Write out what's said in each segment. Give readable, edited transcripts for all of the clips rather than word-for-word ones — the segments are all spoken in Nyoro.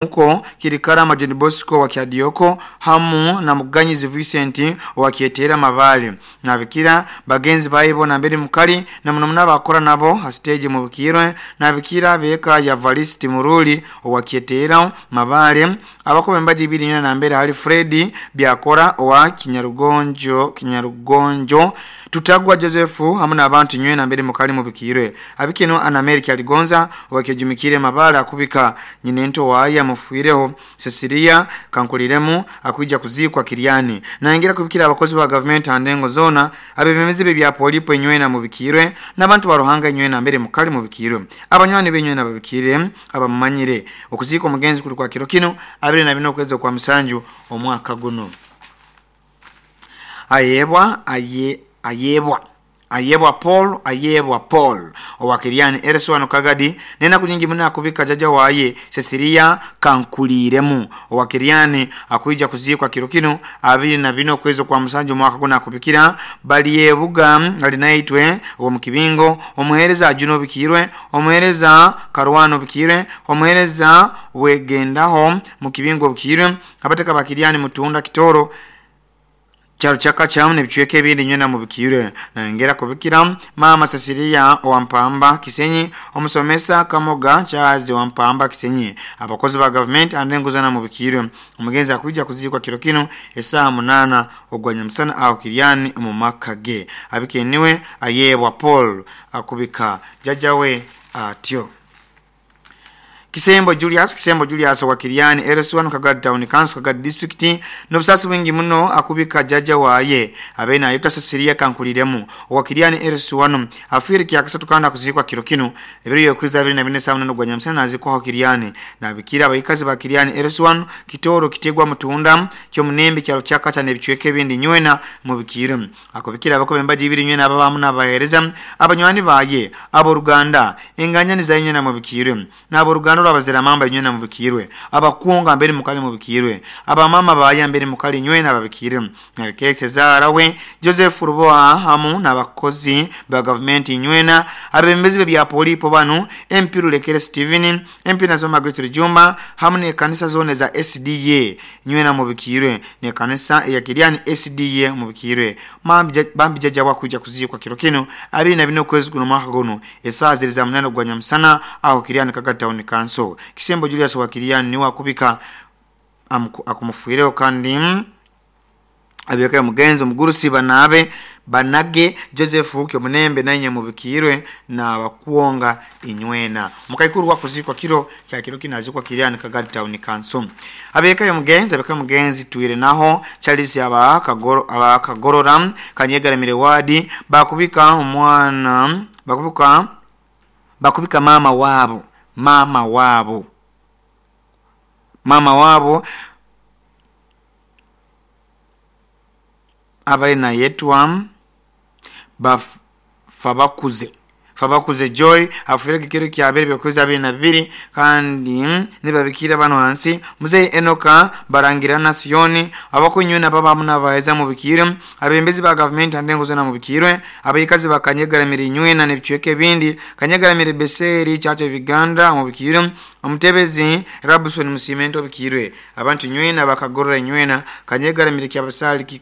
Muko Kirikarama John Bosco wa Kyadioko hamu na Muganyizi Vincent wa Kietera Mabale nabikira bagenzi baibo na mbere mukali na muno munabakora nabo ha stage mu bukirwe nabikira beka ya Valisti Muruli wa Kietera Mabale abakobe mbaji ibiri na mbere hali Freddy Byakora wa Kinyarugonjo Tutagwa Joseph hamu na abantu nywe na mbere mukali mu bukirwe abikino ana Amerika aligonza wakejumikire Mabale akubika nyinento waya mufuireho Cecilia Kankuliremu akuija kuzikwa Kiriani na ingira kubikira abakozi ba government andengo zona abebemezi be bya polipo nywe na mubikirwe n'abantu baruhanga nywe na mbere mukali mubikirwe abanywani benywe na babikire abamanyire okuzika omugenzi kuli kwa kiro kino 24 kwezi kwa musanju omwaka guno. Ayebwa ayebwa Ayebwa Paul Ayebwa Paul owakiriani Ereswano Kagadi nena kunyingi muna kubika jaja waye Cecilia Kankuliremu owakiriani akuija kuzikwa kiro kino 24 kwezi kwa musanju mwaka guna kubikira bali yebuga alinaitwe owo mukibingo omuhereza Ajuno bikirwe omuhereza Karwano bikirwe omuhereza wegendaho mukibingo bikirwe abateka bakiriani mutunda kitoro Charo chaka chamu nebichweke ebindi nywena mubikire na ngera kubikira mama Cecilia owampamba Kisenyi omusomesa Kamoga Charles owampamba Kisenyi abakozi ba government andenguzana mubikire omugenzi akuja kuzikwa kiro kino esaa 8 ogwanya musana aho Kiriani mu makage abikeniwe Ayebwa Paul akubika jajawe atyo. Kisembo Julius wa Kiriani Ereswano Kagadi Town Council Kagadi District nobusasi bwingi muno akubika jaja waye abena ayota Cecilia Kankuliremu wa Kiriani Ereswano afiri kyakasatu kanda kuzikwa kiro kino ebiro yokwiza 24 saa 8 ogwanya musana nazikwa Kiriani na bikira abayikazi ba Kiriani Ereswano Kitoro Kitegwa Mutunda kyo munembe kyalo kyakacha nebichweke ebindi nywena mubikire akubikira abakobe mbaji ibiri nywena ababamu nabahereza abanywani baye abo Ruganda enganya ni za nywena mubikire nabo Ruganda abazira mamba nywena mubikirwe abakunga mbere mukali mubikirwe abamama baya mbere mukali nywena babikire nabikire Cesar we Joseph Ruboa hamu nabakozi ba government nywena abembezi bya polipo banu MP Rulekere Steven MP nazo Margaret Jumba hamu ne kanisa zone za SDA nywena mubikirwe ne kanisa ya Kiriani SDA mubikirwe bambi jaja wakuja kuzikwa kiro kino 24 kwezi kuno mwaka guno esaa ziri za 8 ogwanya musana aho Kiriani Kagadi Town Council. Kisembo Julius wa Kiriani niwa kubika akumufuireo kandi abiyeka mugenzi mugurusi banabe banage Joseph Kyomunembe nanye mubikirwe na bakuonga inywena mukaikuru wakuzikwa kiro kya kiro kinazikwa Kiriani Kagadi Town Council. Abiyeka mugenzi tuire naho Charles abakagorora Kanyegaramire wadi bakubika omwana bakubika mama wabo abaina yetwa Fabakuze Joy afureke kiro kya abiri byokuza 22 kandi nibabikira bano hansi Mzee Enoka Barangirana Sioni abakunywe baba munabaheza mu bikire abembezi ba government andengo zona mu bikire abayikazi bakanyegaramira nywe na nebichweke bindi Kanyegaramira Beseri Church of Uganda mu bikire omutebezi Rabson Musimento bikirwe abantu nywena bakagorora nywena Kanyegaramira kyabasali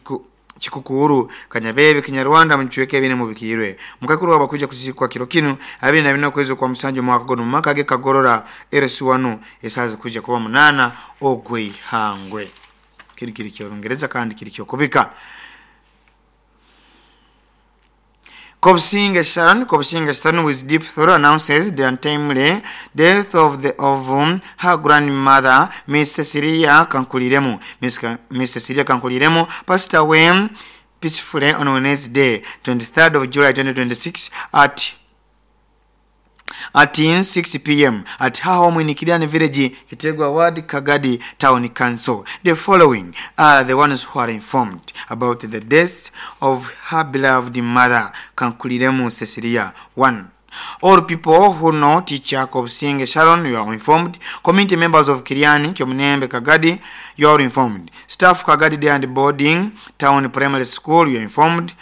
Chikukuru Kanyabebe Kinyarwanda mchweke bine mubikirwe mukakuru wabakuja kuzikwa kiro kino 24 kwezi kwa musanju mwaka gono makage kagorora Ereswano esaza kuja kuba 8 ogwe hangwe kiri kiri kyo Rungereza kandi kiri kyo kubika. Kobsinga Sharon with deep sorrow announces the untimely death of her grandmother, Miss Cecilia Kankuliremu. Miss Cecilia Kankuliremu passed away peacefully on Wednesday, 23rd of July 2026 at 6 p.m. at her home in Kiriani Village, Kitegwa Ward, Kagadi Town Council. The following are the ones who are informed about the death of her beloved mother, Kankuliremu Cecilia. 1. All people who know teacher Kobsinga Sharon, you are informed. Community members of Kiriani, Kyomunembe, Kagadi, you are informed. Staff Kagadi Day and Boarding Town Primary School, you are informed.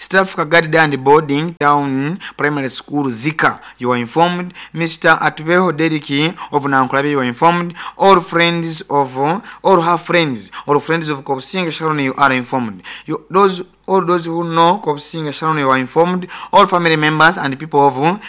Staff Kagadi and Boarding Town Primary School Zika, you are informed. Mr. Atbeho Deriki of Nankulabye, you are informed. All friends of all her friends, all friends of Kobusinge Sharon, you are informed. You, those all those who know Kobusinge Sharon, you are informed. All family members and people of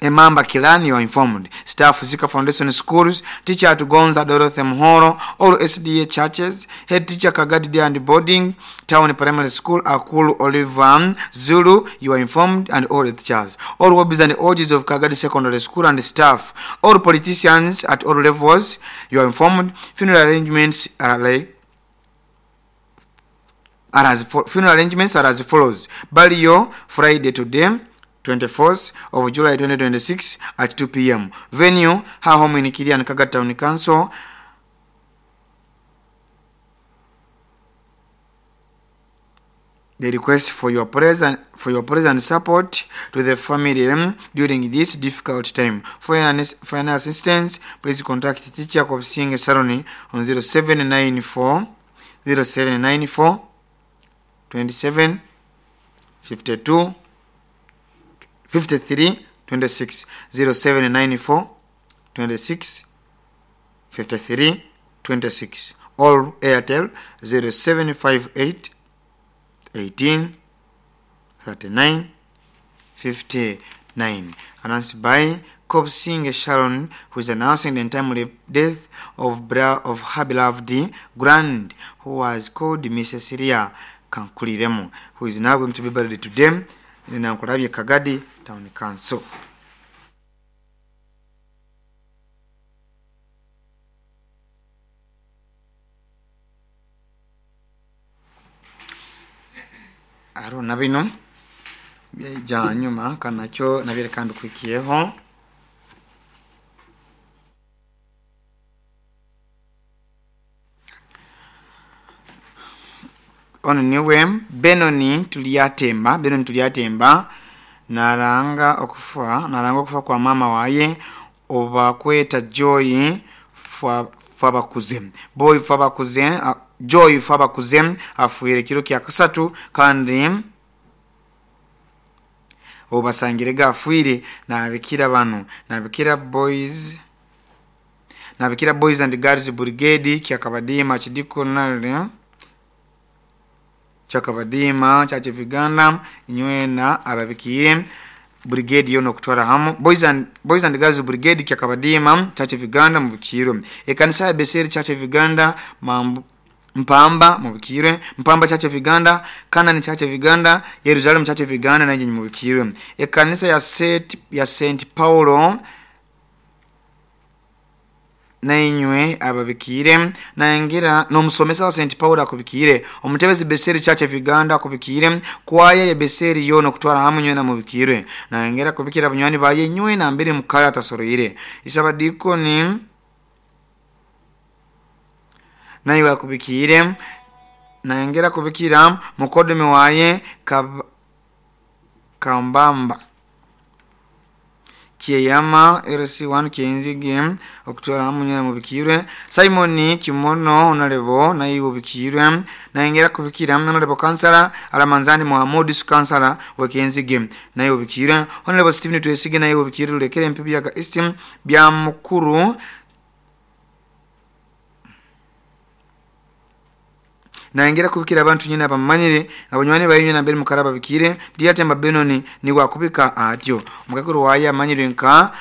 Emamba Kilani, you are informed. Staff Zika Foundation Schools, teacher at Gonza Dorothy Muhoro, all SDA churches, head teacher Kagadi Day and Boarding, Town Primary School, Akulu Oliver Zulu, you are informed, and all the teachers. All hobbies and OGs of Kagadi Secondary School and staff, all politicians at all levels, you are informed. Funeral arrangements are like are as funeral arrangements are as follows. Burial Friday today, 24th of July 2026 at 2 p.m. Venue, her home in Kirian Kaga Town Council. The request for your present support to the family during this difficult time. For any assistance, please contact teacher Kobusinge Sharon on 0794 0794 27 52 53 26 0794 26 53 26 or Airtel 0758 18 39 59. Announced by Kobusinge Sharon, who is announcing the untimely death of her beloved grand, who was called Mrs. Syria Kankuliremu, who is now going to be buried today in Nankulabye Kagadi Town Council. Aro na bino byaija nyuma kanakyo nabireka mbikwikiyeho. Ono niwe Benoni Tulyatemba naranga okufa kwa mama waye obakweta Joy Fabakuze. Boy Fabakuze, Joy Fabakuze afuire kiro kya kasatu kandi obasangire gafuire nabikira bano nabikira boys and girls brigade kyakabadima chidikonale chakabadima Church of Uganda inywena ababikiye brigade yono kutwara hamu boys and girls brigade kyakabadima Church of Uganda mubikiro ekanisa ya Beseri Church of Uganda Mpamba mubikire Mpamba Church of Uganda Kanani Church of Uganda Jerusalem Church of Uganda naje mubikire ekanisa ya St Paulo nainywe ababikire naingira nomusomesa wa St Paul akubikire omutebezi Beseri Church of Uganda akubikire kwaya ya Beseri yono kutwara hamu nywe na mubikire naingira kubikira bunywani baye nywe na mbere mukaya atasoroire isabadikoni naiwe akubikire naingira kubikira mukodome waye kambamba Kiyama RC1 Kenzige okutwara hamu mubikirwe Simon Kimono honorable nayi ubikirwe naingera kubikira honorable kansala Alamanzani Muhammad kansala wa Kenzige nayi ubikirwe honorable Stephen Twesige nayi ubikirwe lekere mpibi ya East bya mukuru naingera kubikira abantu nyina abamanyire abanywani bayinywe na mbere mukaraba bikire Lyatemba Benoni ni wakubika atyo omukakuru waye amanyire nka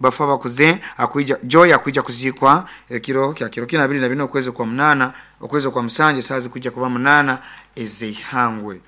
bafa bakuze akuija Joy akuija kuzikwa ekiro kya kiro kina 24 okwezi kwa 8 okwezi kwa musanje sazi kuja kuba 8 ezihangwe.